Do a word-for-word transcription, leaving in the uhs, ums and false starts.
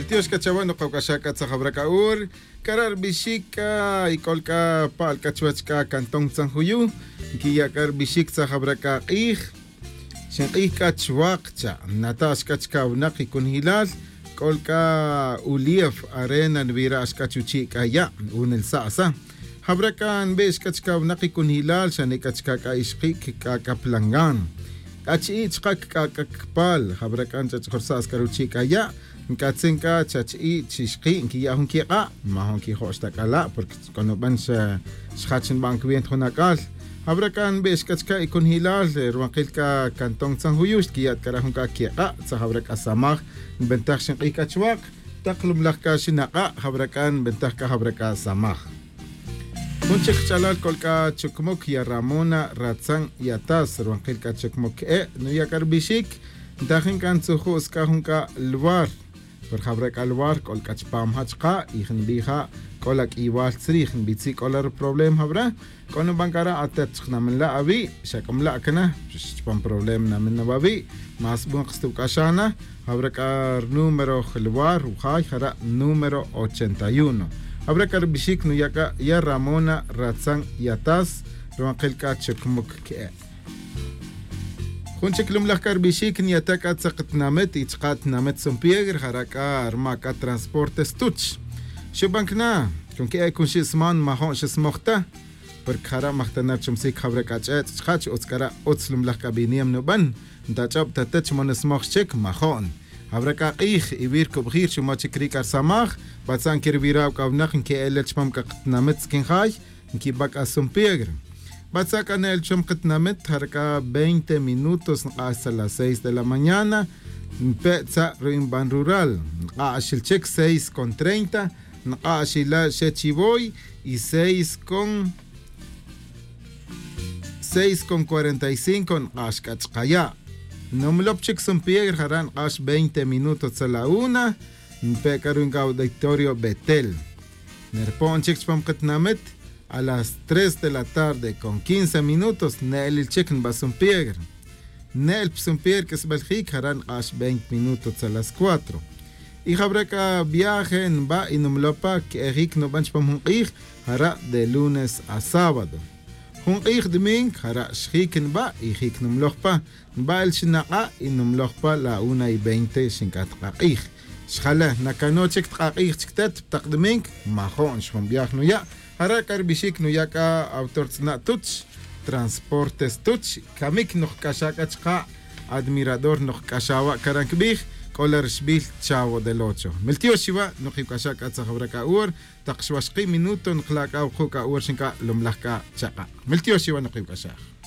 Tiox c'a chawe' nokawc'axa' c'a tzajawra c'a ur. C'a ra' rbixic c'a y c'ol c'a pa'l c'a chuwech c'a cantón tzanjuyu. Nquiya' c'a rbixic tzajawra c'a k'ij. Xink'ij c'a chwak cha' nata' xc'a chca winak y cunjilal. C'ol c'a ulief arena nbira' xc'a chuchi' c'a ya' unelsa' sa. Jawra c'a nbe' xc'a chca winak y cunjilal xa nic'a chca c'a ixkic c'a c'a plangan. C'a chi'i' chka c'a c'a cpal jawra c'a nch'ach'jorsa' xc'a ruchi' c'a ya'. Nc'atzin c'a chachi'i' chixki' nquiya' jun quik'a' majo' nquijo'x ta c'a la' porque c'o nuban xjach nban cwenta jun ac'al. Jawra c'a nbe' xc'a chca y cunjilal ruwankil c'a cantón tzanjuyu xquiya' ta c'a ra' jun c'a quik'a' tzajawra c'a samaj. Nbentaj xink'ij c'a chwak tak lumlaj c'a xinak'a' jawra c'a nbentaj c'a jawra c'a samaj. Jun chic kach'alal c'ol c'a chucmuc ya ramona ratzan y atas ruwankil c'a chucmuc que'e' nuya' c'a rubixic. Ntajin c'a ntzuju' sc'a jun c'a luar por jawra c'a luar c'ol c'a chupam ja' chka' y jnbij ja' c'o la q'uiywal tzrij nbitzi' c'o la ruproblema jawra. C'o nuban c'a ra' atet chkanamin la' awi' xa c'o mla' cana. Chupam problema namin na wawi' más bun kstuwc'axa' na. Jawra c'a runúmero luar wujay jara' número ochenta y uno. Jawra c'a rubixic nuya' c'a ya ramona ratzan y atas ruwankil c'a chucmuc que'e'. Jun chic lumlaj c'a rubixic niyata' c'a tzak tinamit y chka' tinamit sumpiegre jara' c'a rma' c'a transporte stuch. Xuban cana con que'e' cunxi' sman majo' xismoj ta. Porque jara' majtana' ruchumsic jawra c'a ch'ech' chka' chi utz c'a ra' utz lumlaj c'a biniam nuban. Ntach'ob ta te chi mo nismoj xchic majo'n. Jawra c'a k'ij iwi' rucubji' ruchumoj chic ri c'a rusamaj. Batza' nquirwira' c'a winak nque'el el chupam c'a katinamit tzquin jay nquiba' c'a sumpiegre. Batza' c'a ne'el chupam katinamit jara' c'a veinte minutos nk'ax tza las seis de la mañana. Npe' tza' ru'in ban rural nk'ax xil chic seis con treinta. Nk'ax ila' xe chivoy y seis con seis con cuarenta y cinco nk'ax c'a chkaya'. Numlop chic sumpiegre jara' nk'ax veinte minutos tza la una. Npe' c'a ru'in c'a auditorio betel. Nerpo'n chic chupam katinamit a las tres de la tarde con quince minutos ne'elil chic nba sumpiegre. Ne'el pa sumpiegre q'uisbal jic jara' nk'ax veinte minutos tza las cuatro. Y jawra c'a viaje nba' y numloj pa que'e jic nuban chupam jun k'ij jara' de lunes a sábado. Jun k'ij domingo jara' xjic nba' y jic numloj pa. Nba' el xinak'a' y numloj pa la una y veinte xinc'at k'ak'ij. Xjale nacano' chic tk'ak'ij chic te pa tak domingo. Majo'n xjun viaje nuya'. Jara' c'a rubixic nuya' c'a autor tz'ina' tuch transporte stuch. Camic nokc'axa' c'a chka'. Admirador nokc'axa' wa' cara' ncubij. C'o la ruxbil chavo del ocho. Miltiox iwa' nokiwc'axa' c'a tzajawra c'a hor. Tak xwaxki' minuto nkla' c'a wuku' c'a hor xinc'a' lumlaj c'a chaka'. Miltiox iwa' nokiwc'axa'.